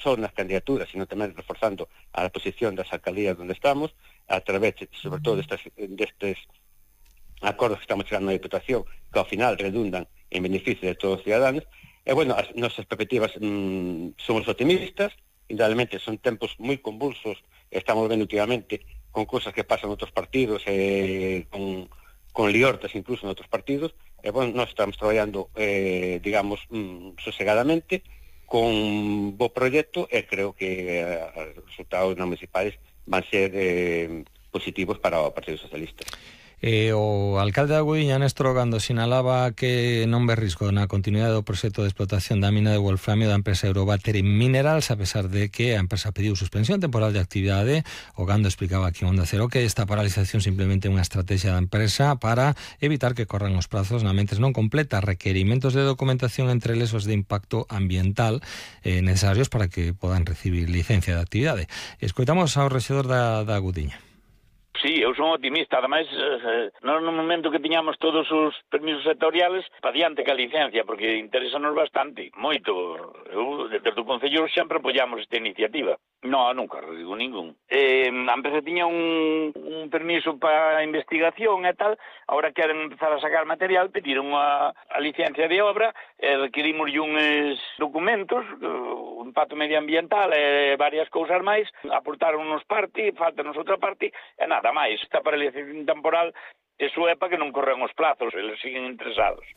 só nas candidaturas, sino tamén reforzando a posición das alcaldías onde estamos, a través, sobre todo, destes acordos que estamos chegando na Diputación, que ao final redundan en beneficio de todos os ciudadanos. E, bueno, as nosas perspectivas somos optimistas, indudablemente son tempos moi convulsos, estamos vendo últimamente con cosas que pasan en outros partidos, con liortas incluso en outros partidos, e, bueno, nós estamos traballando, digamos, sosegadamente, con bo proxecto, e creo que os resultados municipais van ser positivos para o Partido Socialista. O alcalde da Gudiña, Néstor Ogando, sinalaba que non ve risco na continuidade do proxecto de explotación da mina de wolframio da empresa Eurobattery Minerals, a pesar de que a empresa pediu suspensión temporal de actividade. Ogando explicaba aquí en Onda Cero que esta paralización simplemente é unha estrategia da empresa para evitar que corran os prazos na mentes non completa requerimentos de documentación, entre eles os de impacto ambiental necesarios para que podan recibir licencia de actividade. Escoitamos ao rexedor da Gudiña. Sí, eu son optimista, ademais, no momento que tiñamos todos os permisos sectoriales, pa diante que a licencia, porque interesanos bastante, moito. Eu, desde o Concello, sempre apoiamos esta iniciativa. No, nunca digo ningún. A empresa tiña un permiso para investigación e tal, ahora queren empezar a sacar material, pediron a licencia de obra, requirimos uns documentos, o impacto medioambiental e varias cousas máis, aportaron nos parte, faltanos outra parte, e nada máis. Esta paralización temporal eso é para que non corran os plazos, eles siguen interesados.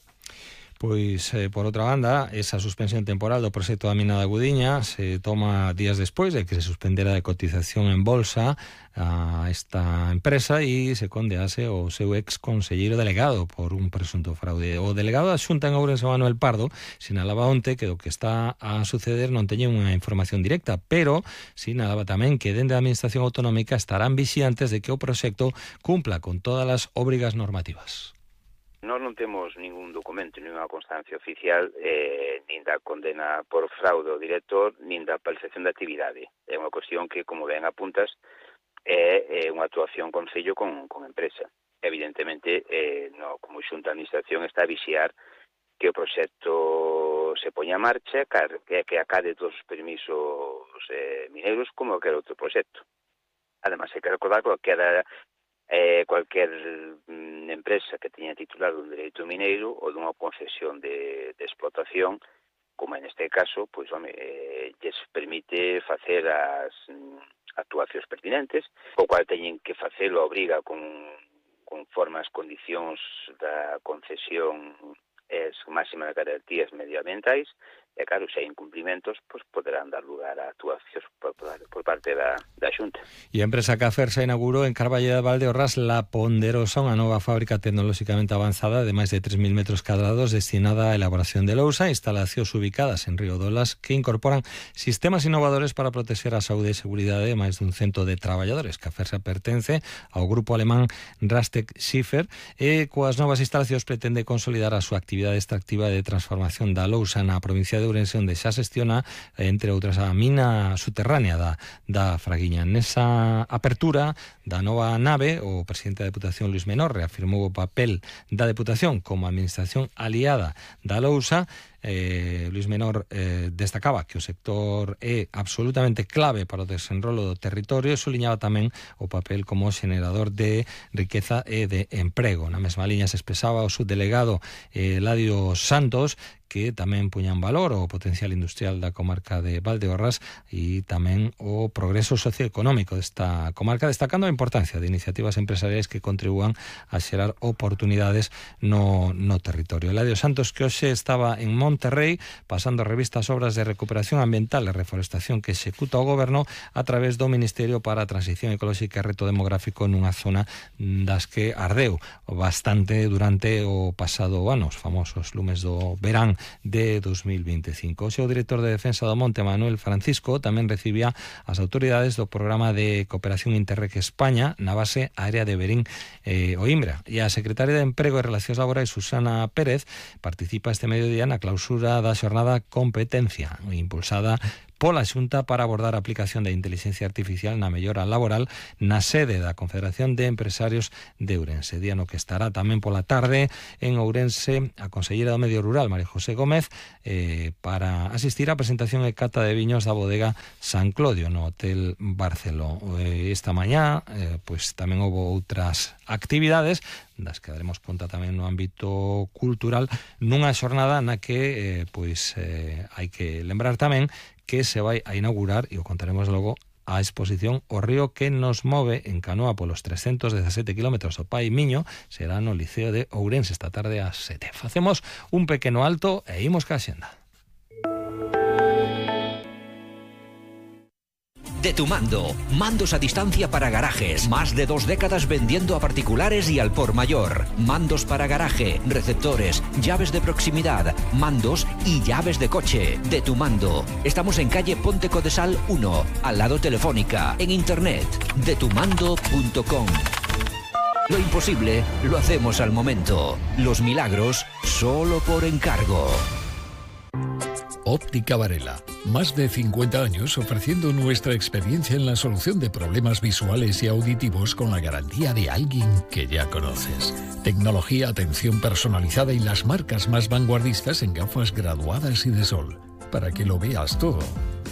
Pois, por outra banda, esa suspensión temporal do proxecto da mina da Gudiña se toma días despois de que se suspendera de cotización en bolsa a esta empresa e se condease o seu ex conselleiro delegado por un presunto fraude. O delegado da Xunta en Ourense, Manuel Pardo, sinalaba onte que do que está a suceder non teñen unha información directa, pero sinalaba tamén que dende a Administración Autonómica estarán vixiantes de que o proxecto cumpla con todas as obrigas normativas. Nós non temos ningún documento, ninguna constancia oficial, nin da condena por fraude ao director, nin da paralización da actividade. É unha cuestión que, como ben apuntas, é unha actuación concello con empresa. Evidentemente, como Xunta de Administración está a vixiar que o proxecto se poña a marcha, que acade todos os permisos mineiros como aquel outro proxecto. Además, hai que recordar que cualquier empresa que teña titular dun dereito mineiro ou dunha concesión de explotación, como en este caso, pois, lles permite facer as actuacións pertinentes, o cual teñen que facelo a obriga conforme as condicións da concesión máximas garantías medioambientais, e claro, se hai incumplimentos, pois poderán dar lugar a actuacións por parte da Xunta. E a empresa Cafersa inaugurou en Carballeda de Valdeorras La Ponderosa, unha nova fábrica tecnolóxicamente avanzada de máis de 3.000 metros cadrados destinada á elaboración de lousa, instalacións ubicadas en Río Dolas que incorporan sistemas innovadores para protexer a saúde e seguridade de máis dun cento de traballadores. Cafersa pertence ao grupo alemán Rastec Schiffer e coas novas instalacións pretende consolidar a súa actividade extractiva de transformación da lousa na provincia de Ourense, onde xa xestiona, entre outras, a mina subterránea da Fraguiña. Nesa apertura da nova nave, o presidente da Deputación, Luis Menor, reafirmou o papel da Deputación como administración aliada da lousa. Luis Menor destacaba que o sector é absolutamente clave para o desenrolo do territorio e suliñaba tamén o papel como xenerador de riqueza e de emprego. Na mesma liña se expresaba o subdelegado Eladio Santos, que tamén puñan valor o potencial industrial da comarca de Valdeorras e tamén o progreso socioeconómico desta comarca, destacando a importancia de iniciativas empresariais que contribúan a xerar oportunidades no territorio. Eladio Santos, que hoxe estaba en Monterrey pasando revista as obras de recuperación ambiental e reforestación que executa o goberno a través do Ministerio para a Transición Ecolóxica e Reto Demográfico nunha zona das que ardeu bastante durante o pasado ano, os famosos lumes do verán de 2025. O seu director de Defensa do Monte, Manuel Francisco, tamén recibía as autoridades do Programa de Cooperación Interreg España na base aérea de Verín o Imbra. E a secretaria de Emprego e Relacións Laborais, Susana Pérez, participa este mediodía na clausura da xornada Competencia, impulsada pola Xunta para abordar a aplicación da inteligencia artificial na mellora laboral na sede da Confederación de Empresarios de Ourense. Día no que estará tamén pola tarde en Ourense a conselleira do Medio Rural, María José Gómez, para asistir á presentación e cata de viños da bodega San Clodio no Hotel Barceló. Esta mañá pois tamén houve outras actividades das que daremos conta tamén no ámbito cultural, nunha xornada na que hai que lembrar tamén que se vai a inaugurar, e o contaremos logo, a exposición O río que nos move en canoa polos 317 km do Pai Miño. Será no Liceo de Ourense esta tarde ás 7. Facemos un pequeno alto e imos ca xenda. De Tu Mando, mandos a distancia para garajes, más de 2 décadas vendiendo a particulares y al por mayor. Mandos para garaje, receptores, llaves de proximidad, mandos y llaves de coche. De Tu Mando. Estamos en calle Ponte Codesal 1, al lado Telefónica, en internet, detumando.com. Lo imposible lo hacemos al momento. Los milagros solo por encargo. Óptica Varela. Más de 50 años ofreciendo nuestra experiencia en la solución de problemas visuales y auditivos con la garantía de alguien que ya conoces. Tecnología, atención personalizada y las marcas más vanguardistas en gafas graduadas y de sol. Para que lo veas todo,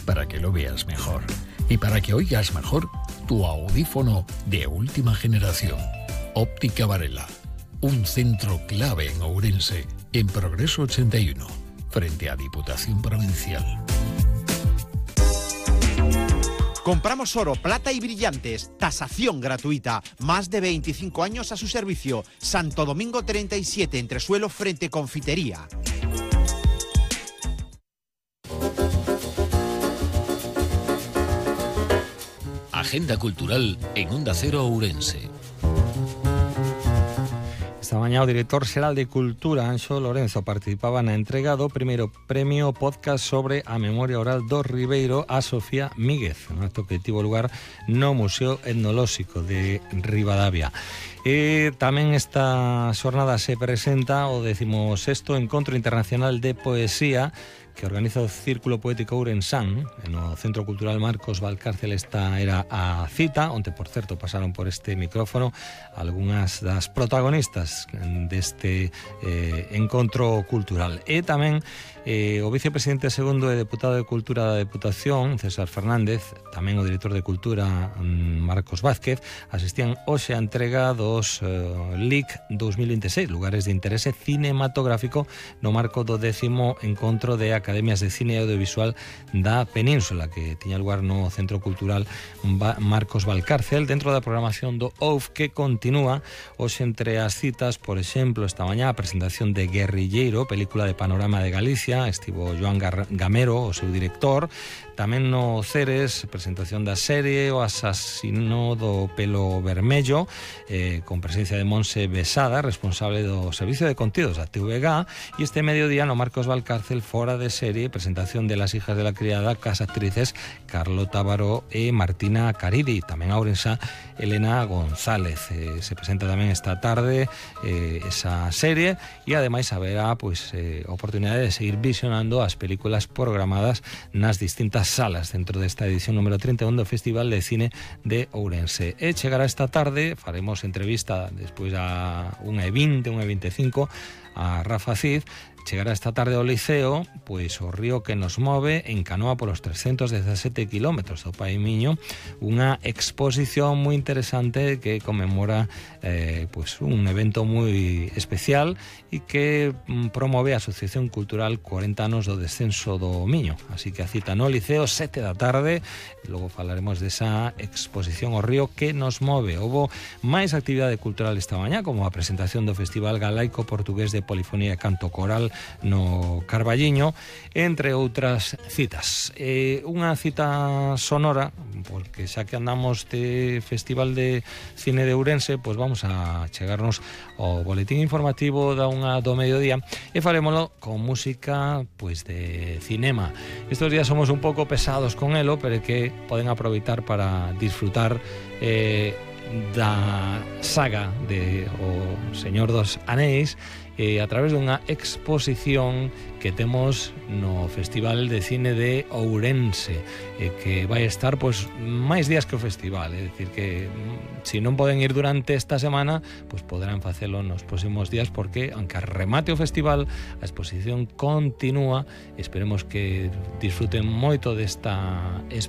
para que lo veas mejor. Y para que oigas mejor tu audífono de última generación. Óptica Varela. Un centro clave en Ourense, en Progreso 81. Frente a Diputación Provincial. Compramos oro, plata y brillantes, tasación gratuita, más de 25 años a su servicio. Santo Domingo 37, entresuelo frente Confitería. Agenda cultural en Onda Cero Ourense. Esta mañá o director xeral de Cultura, Anxo Lorenzo, participaba na entrega do primeiro premio podcast sobre a memoria oral do Ribeiro a Sofía Míguez, un acto que tivo lugar no Museo Etnolóxico de Ribadavia. E tamén esta xornada se presenta o 16º Encontro Internacional de Poesía que organiza o Círculo Poético Ourensán no Centro Cultural Marcos Valcárcel. Esta era a cita, onde, por certo, pasaron por este micrófono algunhas das protagonistas deste encontro cultural. E tamén o vicepresidente segundo e deputado de Cultura da Deputación, César Fernández, tamén o director de Cultura, Marcos Vázquez, asistían hoxe a entrega dos LIC 2026, Lugares de Interese Cinematográfico, no marco do 10º Encontro de Academias de Cine e Audiovisual da Península, que tiña lugar no Centro Cultural Marcos Valcárcel, dentro da programación do OUF, que continúa hoxe entre as citas, por exemplo, esta mañá a presentación de Guerrilleiro, película de Panorama de Galicia. Estivo Joan Gamero, o seu director. Tamén no Ceres, presentación da serie O asasino do pelo vermello, con presencia de Monse Besada, responsable do Servicio de Contidos da TVG. E este mediodía no Marcos Valcárcel, fora de serie, presentación de Las hijas de la criada, cas actrices Carlota Baró e Martina Caridi. Tamén a ourensa Elena González. Se presenta tamén esta tarde esa serie, e ademais haberá oportunidade de seguir visionando as películas programadas nas distintas salas dentro desta edición número 31 do Festival de Cine de Ourense. E chegará esta tarde, faremos entrevista despois a 1:20, 1:25 a Rafa Cid. Chegará esta tarde ao Liceo pois o río que nos move en canoa polos 317 km do Pai Miño, unha exposición moi interesante que conmemora un evento moi especial e que promove a Asociación Cultural 40 anos do descenso do Miño. Así que a cita no Liceo, 7 da tarde. Logo falaremos desa exposición O río que nos move. Houbo máis actividade cultural esta mañá, como a presentación do Festival Galaico Portugués de Polifonía e Canto Coral no Carballiño, entre outras citas. Unha cita sonora, porque xa que andamos de Festival de Cine de Ourense, pois vamos a chegarnos ao boletín informativo da 1 do mediodía e farémolo con música de cinema. Estos días somos un pouco pesados con elo, pero que poden aproveitar para disfrutar da saga de O Señor dos Anéis a través dunha exposición que temos no Festival de Cine de Ourense, que vai estar pois máis días que o festival, é dicir que se non poden ir durante esta semana, pois poderán facelo nos próximos días, porque aunque remate o festival, a exposición continúa. Esperemos que disfruten moito desta exposición.